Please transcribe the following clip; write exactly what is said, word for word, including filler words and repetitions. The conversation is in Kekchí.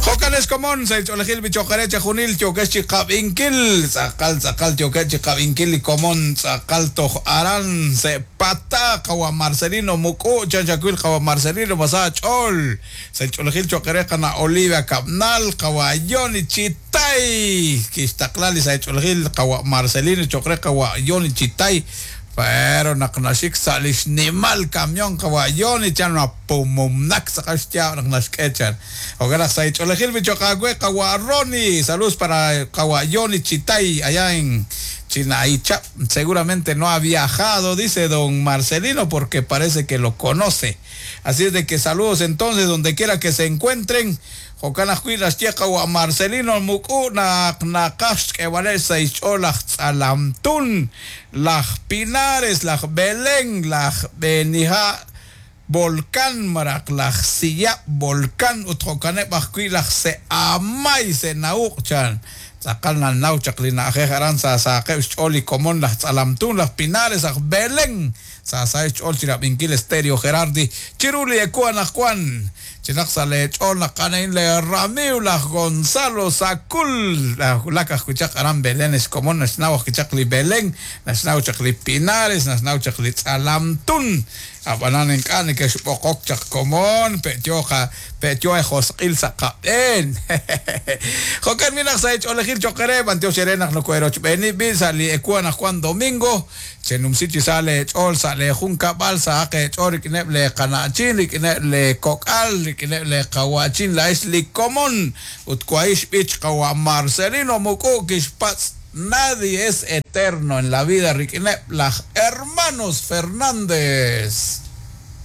Jo'kan ex komon sa' xch'oolejil bichoqere chejunil yookex chi qab'inkil tz'aqal tz'aqal yookex chi qab'inkil li komon tz'aqal toj aran se pata qawa Marcelino Muk'u chan xakwil qawa Marcelino masa ch'ool sa' xch'oolejil choqere qana Olivia Kabnal qawa Yoni Chitay kixtaqla li sa' xch'oolejil qawa Marcelino choqre qawa Yoni Chitay pero naq naxik sa' li xnimal camión qawa Yoni chan pumumnak tz'aqal xyaab' naq naxk'e chan jo'kan naq sa' xch'oolejil bichoqawe qawa Roni saludos para qawa Yoni Chitay allá en Chinaichap. Seguramente no ha viajado, dice don Marcelino, porque parece que lo conoce. Así es de que saludos entonces donde quiera que se encuentren. Jo'kan ajwi' naxye qawa Marcelino Muk'u naq naqaj xk'eeb'aleb' sa' xch'ool laj Tz'alamtun, laj Pinares, laj Belén, laj Benija Volcán maraq laj Siyab Volcán ut jo'kaneb' ajwi' laj Se'amay Se'nauq chan tz'aqal nanaw chaq li na'ajej aran sa saaqeb' xch'ool li komon laj Tz'alamtun, laj Pinares, aj Belén sa sa xch'ool chi rab'inkil Stereo Gerardi chiru li eku anaqwan chinaq sa' le ch'ool naq anain le ramiw laj Gonzalo Sacul lak ajwi' chaq aran Belén ex komon naxnaw ajwi' chaq li Belén naxnaw chaq li Pinares naxnaw chaq li Tz'alamtun ab'anan ink'a' neke'xb'oqok chaq komon pe'yo qa pe'yo josq'il sa' qab'een jo'kan mi naq sa' xch'oolejil choqere b'antiox ere naq nokoerochb'eeni b'i sa' li eku anaqwan domingo chenumsi chi sa' le ch'ool sa' le junkab'al sa' aq ch'ool rik'ineb' le qana'chin rik'ineb' le kok'al rik'ineb' le qawachin la'ex li komon ut kua'ix b'ich qawa Marcelino Muk'u kixpatz' nadie es eterno en la vida rik'ineb' laj hermanos Fernández.